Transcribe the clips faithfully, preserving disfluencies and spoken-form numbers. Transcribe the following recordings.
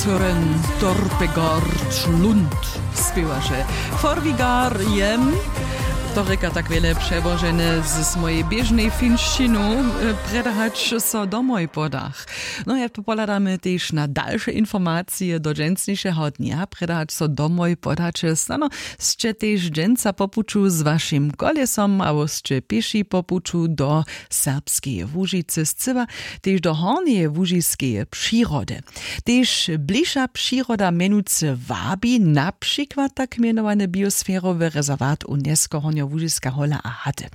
Søren Dorpegard Lund spěwaše Forvigar jem. To rěka tak wjele přełožene z mojej běžnej finšćinu. Predahać so domoj podach. No ja to pohladamy tež na dalše informacije do dźensnišeho dnja. Predahać so domoj podaće snano sće tež dźensa po puću z wašim kolesom abo sće pěši po puću do serbskeje łužicy scyła tež do hornjeje łužiskeje přirody. Tež bližša přiroda mjenujcy wabi na přikład tak mjenowany biosferowy rezerwat UNESCO hornjołužiska hola a haty.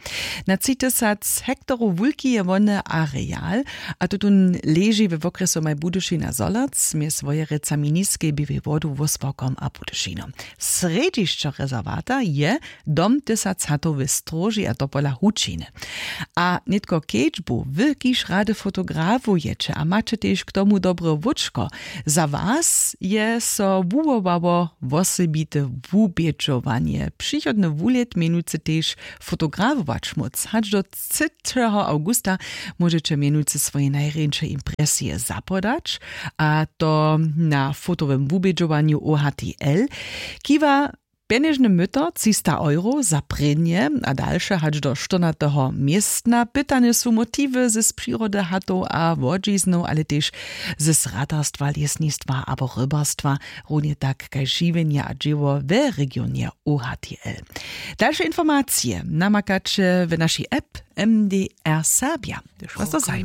Na tři tysac hektorow wulki je wony areal a tutón leži we wokrjesu maj budyšina zolac mjez wojerecami niskej běłej wodu wósporkom a budyšinom. Srjedźišćo rezerwata je dom tysac hatow w stróži a to pola hučiny. A nětko kedźbu wy kiž rady fotografujecie a maće tež k tomu dobre łóčko, za was je so wuwołało wosebite wubědźowanje přichodny wulět mjenujcy tež fotografować móc hač do třećeho awgusta. Móžeće mjenujcy swoje najrjeńše impresije zapodać a to na fotowym wubědźowanju ohtl. Kiwa pjenježny myto třista euro za prěnje a dalše hač do štyrnateho městna pytane su motiwy z přirody hatow a łodźiznow ale tež z ratarstwa lěsnistwa abo rybarstwa, runje tak kaž žiwjenje a dźěło we regionje ohtl. Dalše informacije namakaće w našej app. Mdr serbja, hdyž was to zajima.